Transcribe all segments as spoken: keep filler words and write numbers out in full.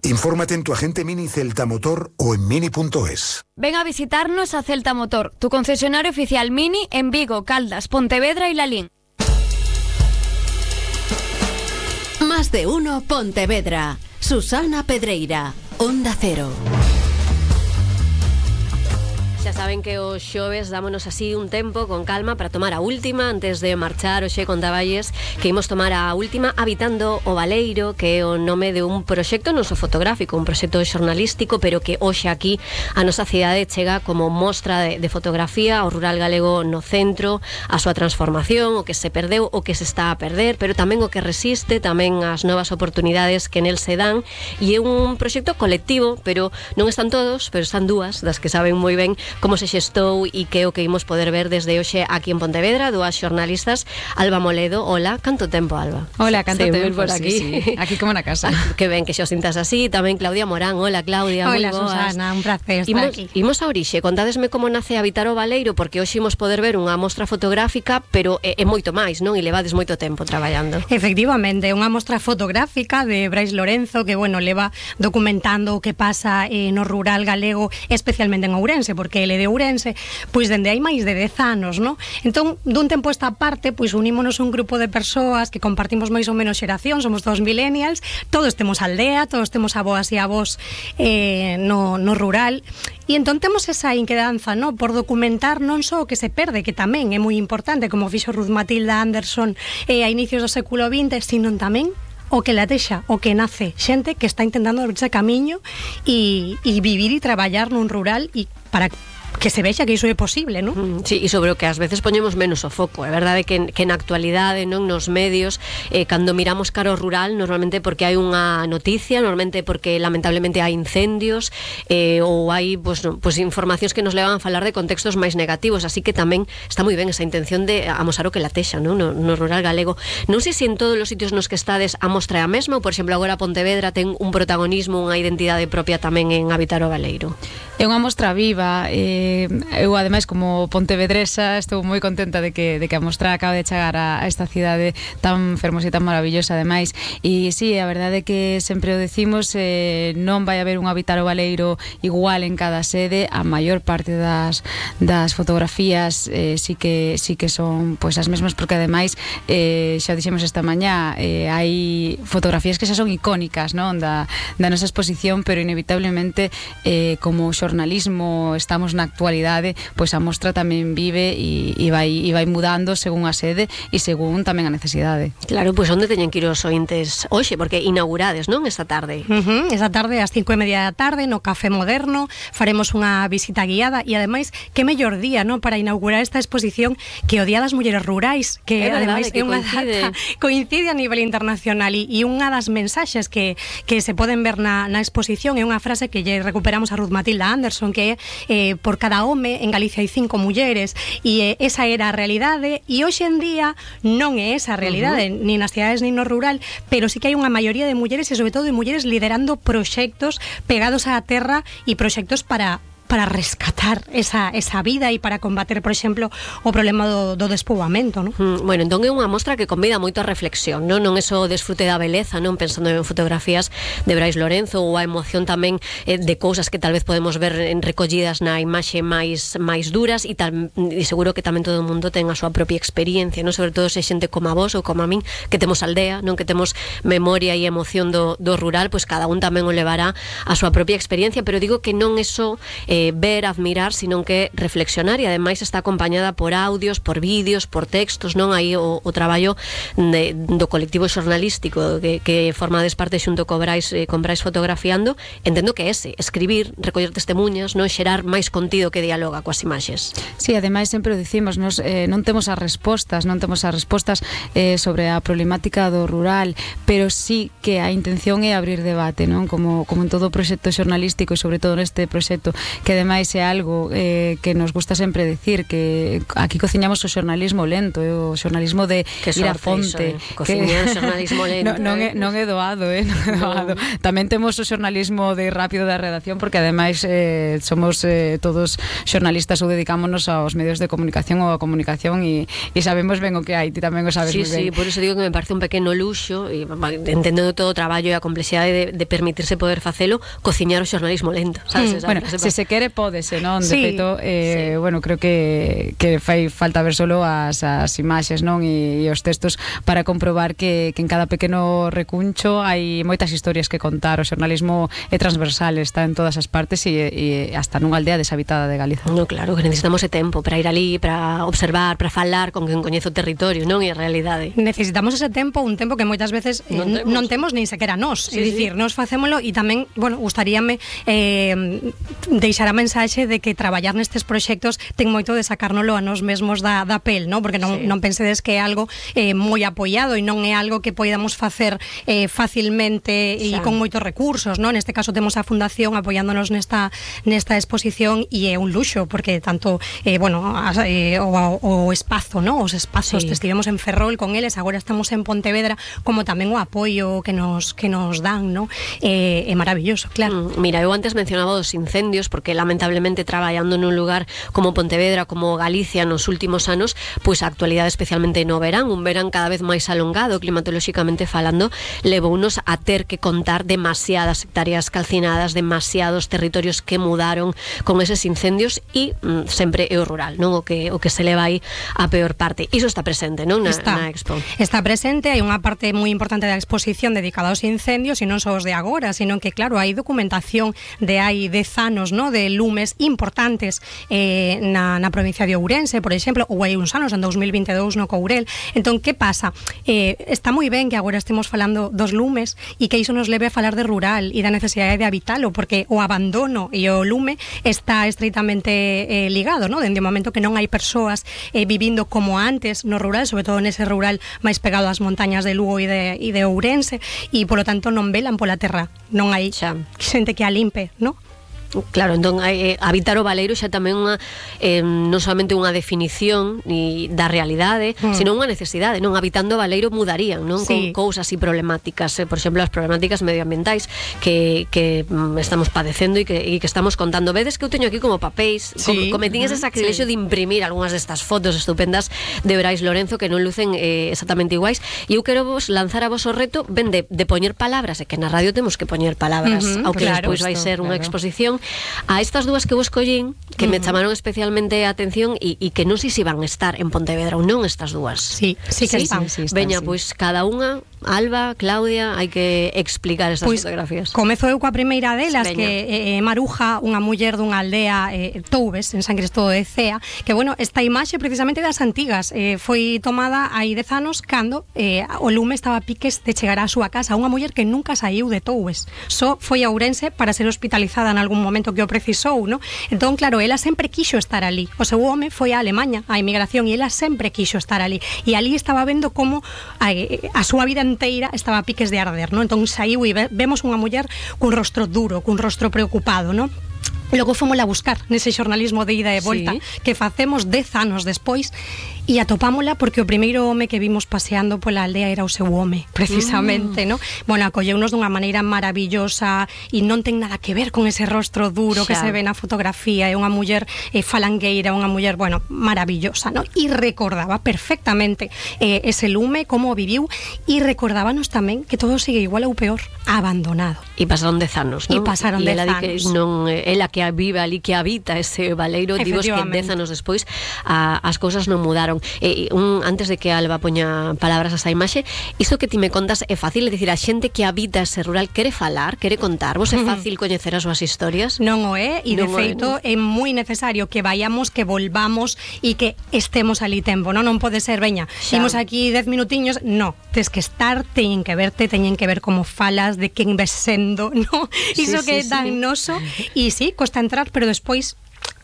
Infórmate en tu agente Mini Celta Motor o en mini punto es. Ven a visitarnos a Celta Motor, tu concesionario oficial Mini en Vigo, Caldas, Pontevedra y Lalín. Más de uno Pontevedra. Susana Pedreira, Onda Cero. Xa saben que os xoves dámonos así un tempo con calma para tomar a última antes de marchar. Hoxe contaballes que imos tomar a última Habitando o Baleiro, que é o nome de un proxecto non só fotográfico, un proxecto xornalístico, pero que hoxe aquí a nosa cidade chega como mostra de, de fotografía, o rural galego no centro, a súa transformación, o que se perdeu, o que se está a perder, pero tamén o que resiste, tamén as novas oportunidades que nel se dan, e é un proxecto colectivo, pero non están todos, pero están dúas das que saben moi ben como se xestou e que é o que imos poder ver desde hoxe aquí en Pontevedra, dúas xornalistas. Alba Moledo, hola, canto tempo, Alba? Hola, canto sí, tempo, por aquí. Sí, sí. Aquí como na casa. Que ben que xo sintas así. Tamén Claudia Morán, hola Claudia, moi hola, boas. Susana, un placer estar imos, aquí. Imos a orixe, contádesme como nace Habitar o Baleiro, porque hoxe imos poder ver unha mostra fotográfica, pero é, é moito máis, non? E levades moito tempo traballando. Efectivamente, unha mostra fotográfica de Brais Lorenzo, que, bueno, leva documentando o que pasa eh, no rural galego, especialmente en Ourense, porque ele é de Ourense, pois dende hai máis de dez anos, non? Entón, dun tempo esta parte, pois unímonos un grupo de persoas que compartimos máis ou menos xeración, somos dos millennials, todos temos aldea, todos temos aboas e avós eh, no, no rural, e entón temos esa inquedanza, non? Por documentar non só o que se perde, que tamén é moi importante, como fixo Ruth Matilda Anderson eh, a inicios do século vinte, sino tamén o que latexa, o que nace, xente que está intentando abrirse camiño e, e vivir e traballar nun rural e para que se vexa que iso é posible, non? Mm, sí, e sobre o que ás veces poñemos menos o foco. É verdade que, que na actualidade, non, nos medios, eh, cando miramos cara ao rural, normalmente porque hai unha noticia, normalmente porque lamentablemente hai incendios, eh, ou hai pues, no, pues, informacións que nos levan a falar de contextos máis negativos, así que tamén está moi ben esa intención de amosar o que latexa, non? No, no rural galego. Non sei se en todos os sitios nos que estades a mostra a mesma, ou por exemplo agora Pontevedra ten un protagonismo, unha identidade propia tamén en Habitar o Baleiro. É unha mostra viva. eh, eu ademais como pontevedresa estou moi contenta de que, de que a mostra acaba de chegar a, a esta cidade tan fermosa e tan maravillosa ademais, e sí, a verdade é que sempre o decimos, eh, non vai haber un Habitar o Baleiro igual en cada sede. A maior parte das, das fotografías eh, sí que sí que son pois as mesmas, porque ademais eh, xa dixemos esta mañá, eh, hai fotografías que xa son icónicas, non, da, da nosa exposición, pero inevitablemente eh, como xornalismo estamos na actualidade, pois a mostra tamén vive e, e, vai, e vai mudando según a sede e según tamén a necesidade. Claro, pois onde teñen que ir os ointes hoxe, porque inaugurades, non, esta tarde? Uh-huh, esta tarde, ás cinco e media da tarde, no Café Moderno, faremos unha visita guiada, e ademais, que mellor día, non, para inaugurar esta exposición que o Día das Mulleres Rurais, que é ademais verdade, é unha coincide. data coincide a nivel internacional, e, e unha das mensaxes que, que se poden ver na, na exposición é unha frase que lle recuperamos a Ruth Matilda Anderson, que é eh, por cada home en Galicia hai cinco mulleres, e eh, esa era a realidade, e hoxe en día non é esa a realidade, uh-huh. nin nas cidades nin no rural, pero sí que hai unha maioría de mulleres, e sobre todo de mulleres liderando proxectos pegados á terra e proxectos para para rescatar esa, esa vida e para combater, por exemplo, o problema do, do despoboamento, non? Mm, bueno, entón é unha mostra que convida moito a reflexión, non? Non é só o desfrute da beleza, non? Pensando en fotografías de Brais Lorenzo, ou a emoción tamén eh, de cousas que tal vez podemos ver en recollidas na imaxe máis máis duras, e, tal, e seguro que tamén todo o mundo ten a súa propia experiencia, non? Sobre todo se xente como a vos ou como a min, que temos aldea, non? Que temos memoria e emoción do, do rural, pois cada un tamén o levará a súa propia experiencia, pero digo que non é só eh, ver, admirar, sino que reflexionar, e ademais está acompañada por audios, por vídeos, por textos, non? Aí o, o traballo de, do colectivo xornalístico que, que formades parte xunto co Brais, eh, con Brais Fotografiando, entendo que é ese, escribir, recoller testemunhas, non? Xerar máis contido que dialoga coas imaxes. Sí, ademais sempre o dicimos, nos, eh, non temos as respostas, non temos as respostas eh, sobre a problemática do rural, pero sí que a intención é abrir debate, non? Como, como en todo o proxecto xornalístico, e sobre todo neste proxecto que ademais é algo eh, que nos gusta sempre decir, que aquí cociñamos o xornalismo lento, eh, o xornalismo de que ir a fonte, iso, eh? Cociñar o xornalismo lento. non, non, eh? é, non é doado, eh? Non é doado. No. Tamén temos o xornalismo de rápido da redacción, porque ademais eh, somos eh, todos xornalistas ou dedicámonos aos medios de comunicación ou a comunicación e, e sabemos ben o que hai, ti tamén o sabes sí, moi ben. Sí, por iso digo que me parece un pequeno luxo e entendendo todo o traballo e a complexidade de, de permitirse poder facelo, cociñar o xornalismo lento, sabes? Mm, bueno, se se quere pódese, non? De sí, feito, eh, sí. bueno, creo que que fai falta ver solo as, as imaxes, non? E, e os textos para comprobar que, que en cada pequeno recuncho hai moitas historias que contar. O xornalismo é transversal, está en todas as partes e, e hasta nunha aldea deshabitada de Galiza. No, claro, que necesitamos ese tempo para ir ali, para observar, para falar con quen coñece o territorio, non? E a realidade. Necesitamos ese tempo, un tempo que moitas veces eh, non, temos. non temos nin sequera nós, sí, é dicir, sí. Nos facémolo e tamén, bueno, gustaríame eh, deixar a mensaxe de que traballar nestes proxectos ten moito de sacárnolo a nós mesmos da, da pel, non? Porque non, sí. non pensedes que é algo eh, moi apoiado e non é algo que podamos facer eh, facilmente e con moitos recursos, non? Neste caso temos a Fundación apoiándonos nesta nesta exposición e é un luxo, porque tanto eh, bueno, as, eh, o, o espazo, non? Os espazos, sí. Estivemos en Ferrol con eles, agora estamos en Pontevedra, como tamén o apoio que nos que nos dan, non? Eh, é maravilloso, claro. Mm, mira, eu antes mencionaba os incendios, porque lamentablemente traballando nun lugar como Pontevedra, como Galicia nos últimos anos, pois a actualidade especialmente no verán, un verán cada vez máis alongado climatolóxicamente falando, levounos a ter que contar demasiadas hectáreas calcinadas, demasiados territorios que mudaron con eses incendios e mm, sempre é o rural, non? O que o que se leva aí a peor parte. Iso está presente, non? Na, está, na Expo. Está presente, hai unha parte moi importante da exposición dedicada aos incendios e non só os de agora, sino que claro, hai documentación de hai dez anos, non? De lumes importantes eh, na, na provincia de Ourense, por exemplo, ou hai uns anos, en dos mil vinte e dous no Courel. Entón, que pasa? Eh, está moi ben que agora estemos falando dos lumes e que iso nos leve a falar de rural e da necesidade de habitalo, porque o abandono e o lume está estreitamente eh, ligado, non? Dende o momento que non hai persoas eh, vivindo como antes no rural, sobre todo nese rural máis pegado ás montañas de Lugo e de, e de Ourense, e polo tanto non velan pola terra, non hai xa xente que a limpe, non? Claro, entón eh, habitar o baleiro xa tamén unha eh, non solamente unha definición ni da realidade, mm. sino unha necesidade, non? Habitando o baleiro mudarían, non? Sí. Con cousas e problemáticas, eh, por exemplo, as problemáticas medioambientais que, que mm, estamos padecendo e que, e que estamos contando. Vedes que eu teño aquí como papéis, sí. com, cometín ese sacrilexo sí. de imprimir algunhas destas fotos estupendas de Brais Lorenzo que non lucen eh, exactamente iguais, e eu quero vos lanzar a vos o reto ben de, de poñer palabras, e que na radio temos que poñer palabras, uh -huh, ao que claro, despois vai ser unha claro. exposición a estas dúas que vos collín que uh -huh. me chamaron especialmente a atención e, e que non sei se van a estar en Pontevedra ou non estas dúas. Sí, sí que sí, están. Sí, sí, están Veña, sí. pois cada unha, Alba, Claudia, hai que explicar estas pues, fotografías. Comezo eu coa primeira delas, Veña. que é eh, Maruja, unha muller dunha aldea eh, Toubes, en San Cristóbal de Cea, que bueno, esta imaxe precisamente das antigas eh, foi tomada hai dez anos cando eh, o lume estaba a piques de chegar á súa casa, unha muller que nunca saiu de Toubes, só foi a Ourense para ser hospitalizada en algún momento que o precisou, no? Entón, claro, ela sempre quixo estar ali. O seu home foi a Alemanha, a emigración, e ela sempre quixo estar ali. E ali estaba vendo como a, a súa vida inteira estaba a piques de arder, no? Entón saiu e ve, vemos unha muller cun rostro duro, cun rostro preocupado, no? Logo fomos a buscar nese xornalismo de ida e volta sí. que facemos dez anos despois e atopámola porque o primeiro home que vimos paseando pola aldea era o seu home, precisamente, mm. no? Bueno, acolleunos dunha maneira maravillosa e non ten nada que ver con ese rostro duro xa. que se ve na fotografía, é unha muller eh, falangueira, unha muller, bueno, maravillosa, no? E recordaba perfectamente eh, ese lume, como o viviu, e recordábanos tamén que todo sigue igual ou peor, abandonado. E pasaron dez anos, non? E pasaron dez anos. Que non, ela que vive ali, que habita ese baleiro, divos que dez anos despois a, as cousas non mudaron. E, un, antes de que Alba poña palabras a esa imaxe, isto que ti me contas é fácil, é dicir, a xente que habita ese rural quere falar, quere contar, vos é fácil coñecer as súas historias? Non o é, e de feito é, non? é moi necesario que vayamos, que volvamos e que estemos ali tempo, non? Non pode ser, veña, imos aquí dez minutiños, no, tes que estar, teñen que verte, teñen que ver como falas, de quen ves sendo, no? Iso sí, que é sí, tan sí. noso, e sí, costa entrar, pero despois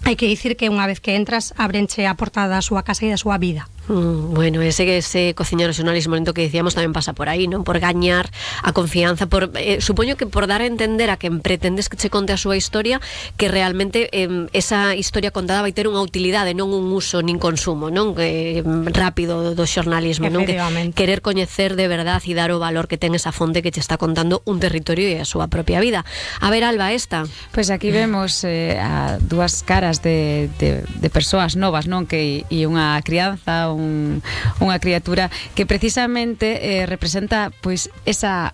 hai que dicir que unha vez que entras abrenche a porta da súa casa e da súa vida. Mm, bueno, ese ese cociñar o xornalismo lento que dicíamos tamén pasa por aí, non? Por gañar a confianza, por eh, supoño que por dar a entender a quen pretendes que che conte a súa historia que realmente eh, esa historia contada vai ter unha utilidade, non un uso nin consumo, non? Eh, rápido do xornalismo, non? Que querer coñecer de verdad e dar o valor que ten esa fonte que che está contando un territorio e a súa propia vida. A ver, Alba, esta. Pois pues aquí vemos eh, a dúas caras de, de, de persoas novas, non? Que e unha crianza, un, unha criatura que precisamente eh, representa pois esa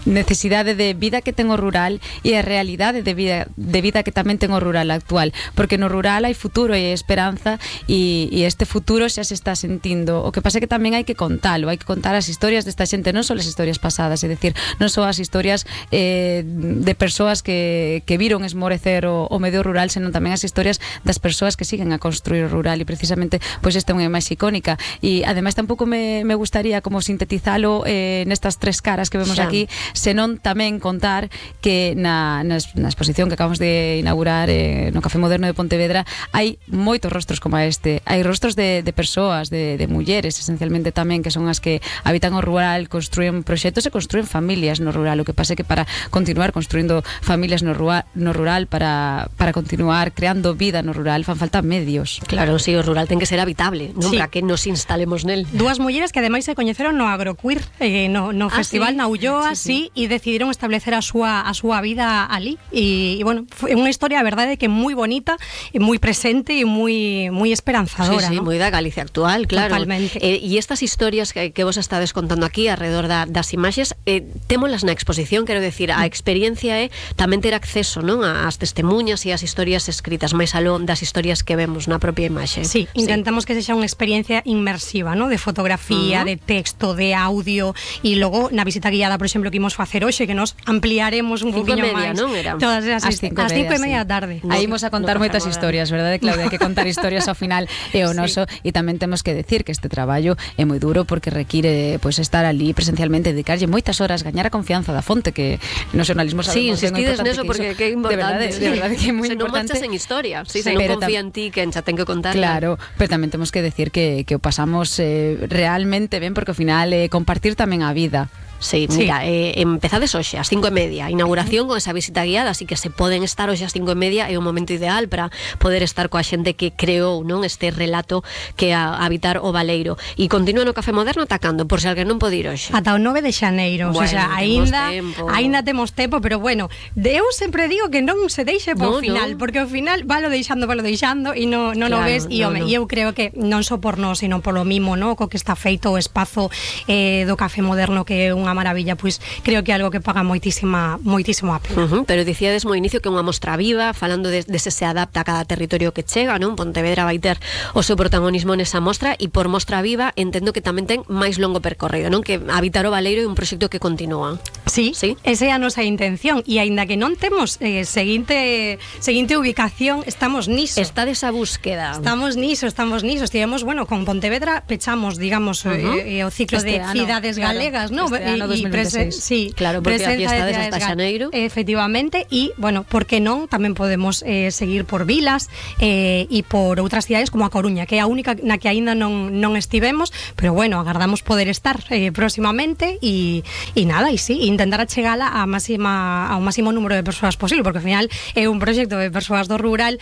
necesidade de vida que ten o rural e a realidade de vida, de vida que tamén ten o rural actual, porque no rural hai futuro e esperanza e, e este futuro xa se está sentindo. O que pasa é que tamén hai que contalo, hai que contar as historias desta xente, non só as historias pasadas, é dicir, non só as historias eh, de persoas que, que viron esmorecer o, o medio rural, senón tamén as historias das persoas que siguen a construir o rural, e precisamente pois esta é unha máis icónica. E ademais tampouco me, me gustaría como sintetizalo eh, nestas tres caras que vemos xa aquí, senón tamén contar que na, na, na exposición que acabamos de inaugurar eh, no Café Moderno de Pontevedra hai moitos rostros como este, hai rostros de, de persoas, de, de mulleres esencialmente tamén, que son as que habitan o rural, construen proxectos e construen familias no rural. O que pasa é que para continuar construindo familias no rural, no rural para, para continuar creando vida no rural fan falta medios. Claro, si, sí, o rural ten que ser habitable, non? Sí. Para que nos instalemos nel. Dúas mulleres que ademais se coñeceron no Agroqueer, eh, no, no ah, festival sí? na Ulloa, sí, sí, e decidiron establecer a súa a súa vida ali e, e bueno, foi unha historia, a verdade, que moi bonita e moi presente e moi moi esperanzadora, sí, sí, ¿no? moi da Galicia actual, claro. Totalmente. Eh, e estas historias que, que vos estades contando aquí alrededor da, das imaxes, eh, témolas na exposición, quero decir, a experiencia é tamén ter acceso, non, ás testemunhas e ás historias escritas máis aló das historias que vemos na propia imaxe. Sí, intentamos sí. que sexa unha experiencia inmersiva, ¿no? De fotografía, uh -huh. de texto, de audio, e logo na visita guiada, por exemplo, que imos facer hoxe, que nos ampliaremos un poquinho máis. Non era? Todas as cinco e media da tarde. Aí imos a contar no moitas historias, verdade, Claudia? Hai que contar historias ao final e o noso, sí. E tamén temos que decir que este traballo é moi duro porque require pois pues, estar ali presencialmente, dedicarlle moitas horas, gañar a confianza da fonte, que no xornalismo sabemos. Sí, insistides neso porque que é importante. De verdade, de verdade que é moi se importante. Se non marchas en historia, sí, sí, se non confía en ti, que xa ten que contar. Claro, pero tamén temos que decir que, que o pasamos eh, realmente ben, porque ao final eh, compartir tamén a vida. Sí, mira, sí. eh, empezades hoxe ás cinco e media, inauguración con esa visita guiada, así que se poden estar hoxe ás cinco e media, é un momento ideal para poder estar coa xente que creou, non, este relato que a habitar o Baleiro. E continúa no Café Moderno atacando, por se alguén non pode ir hoxe. Ata o nove de xaneiro, bueno, o sea, aínda aínda temos tempo, pero bueno, eu sempre digo que non se deixe por no, final, no. porque ao final valo deixando, valo deixando e non no, no, claro, no ves, e no, no. eu creo que non só por nós, sino polo mimo, no, co que está feito o espazo eh, do Café Moderno, que é unha maravilla, pois creo que é algo que paga moitísima moitísimo a pena. Uh -huh, pero dicíades mo inicio que é unha mostra viva, falando de, de se se adapta a cada territorio que chega, non? Pontevedra vai ter o seu protagonismo nesa mostra, e por mostra viva entendo que tamén ten máis longo percorrido, non? Que habitar o Baleiro é un proxecto que continúa. Sí, sí, esa é a nosa intención, e aínda que non temos eh, seguinte seguinte ubicación, estamos niso. Está desa búsqueda. Estamos niso, estamos niso. Estivemos, bueno, con Pontevedra pechamos, digamos, uh -huh. eh, o ciclo este de ano, cidades claro, galegas, ¿no? Este ano dos mil veintiséis. Sí, claro, porque aquí estades hasta xaneiro. Efectivamente, e, bueno, por que non, tamén podemos eh, seguir por vilas eh, e por outras cidades como a Coruña, que é a única na que aínda non, non estivemos, pero, bueno, agardamos poder estar eh, próximamente e, e nada, e sí, intentar achegala a máxima, ao máximo número de persoas posible, porque ao final é un proxecto de persoas do rural,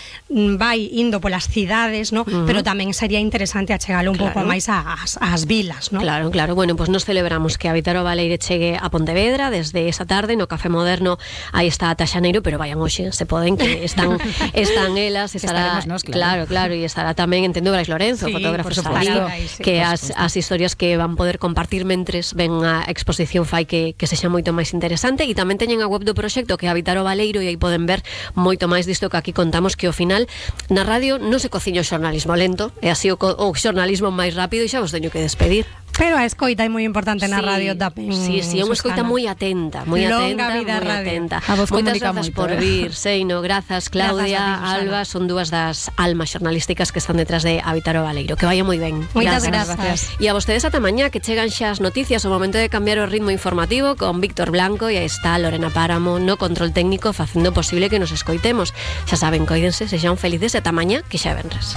vai indo polas cidades, ¿no? Uh -huh. Pero tamén sería interesante achegalo un claro. pouco máis ás, ás vilas, ¿no? Claro, claro, bueno, pues nos celebramos que Habitar o Baleiro chegue a Pontevedra desde esa tarde no Café Moderno. Aí está ata xaneiro, pero vayan hoxe, se poden, que están están elas, estará nos, claro, claro, claro, e estará tamén, entendo, Brais Lorenzo, sí, fotógrafo ali, sí, que as, as historias que van poder compartir mentres ven a exposición fai que, que sexa moito máis interesante. E tamén teñen a web do proxecto, que é Habitar o Baleiro, e aí poden ver moito máis disto que aquí contamos, que ao final na radio non se cociña o xornalismo lento, é así o, o xornalismo máis rápido, e xa vos teño que despedir. Pero a escoita é moi importante na sí, radio tamén. Sí, sí, é unha escoita moi atenta, moi atenta, moi atenta. Moitas grazas por vir, Seino, grazas, Claudia, grazas, Alba, son dúas das almas xornalísticas que están detrás de Habitar o Baleiro. Que vaya moi ben. Moitas grazas. E a vostedes ata mañá, que chegan xa as noticias, o momento de cambiar o ritmo informativo con Víctor Blanco, e aí está Lorena Páramo no control técnico facendo posible que nos escoitemos. Xa saben, coídense, sexan felices, ata mañá, que xa venres.